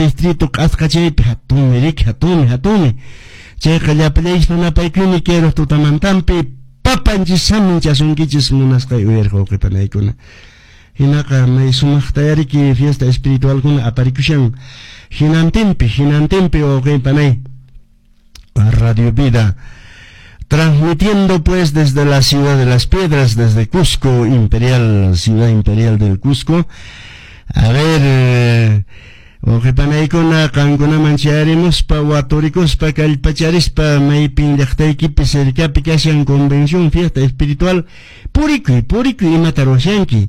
Distrito q'asqachaypi hatunmi riki, hatunmi, hatunmi. Chayqa llapallaykichis munapaykuni kay tutamantampi papanchis saminchasunkichis munasqay uyariq wawqi panaykuna. Hinaqa may sumaqtaya riki fiesta espiritualkuna aparikushan hinantinpi, hinantinpi wawqi panay. Radio Vida transmitiendo pues desde la ciudad de las piedras, desde Cusco, Imperial, ciudad imperial del Cusco. A ver, wawqi panaykuna qankunaman chayarimuspa waturikuspa kallpacharispa maypin llaqtaykipi cercapi kashan convención fiesta espiritual purikuy, purikuy imata ruwashanki,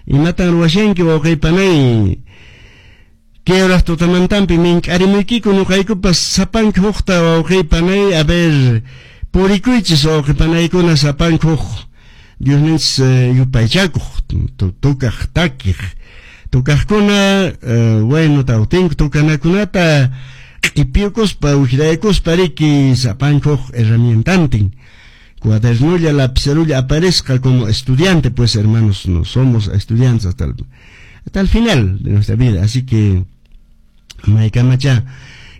imatan ruwashanki wawqi panay. Kay horas tutamantampi mink'arimuykiku ñuqaykupas sapanka hukta wawqi panay, a ver, purikuychis wawqi panaykuna sapanka huk Diosninchis yupaychakuq tukaq takiq tukaqkuna, bueno, tawtinku tukanakunata q'ipiyukuspa wijraykuspa riki sapanka huk herramientantin cuadernulla lapicerulla aparezca como estudiante. Pues, hermanos, no somos estudiantes hasta el final de nuestra vida, así que maykamacha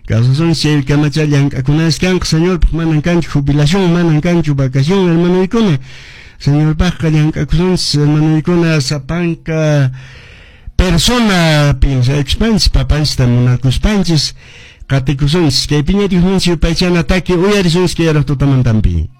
kawsasunchis chay kamacha llank'akunanchis kanqa Señorpaq. Manan kanchu jubilación, manan kanchu vacación, hermanoykuna. Señorpaqqa llank'akusunchis, hermanoykuna, sapanka persona piensaykuspanchis, papanchista munakuspanchis qatikusunchis. Kaypiña Diosninchis yupaychana taki uyarisunchis kay tutamantampi.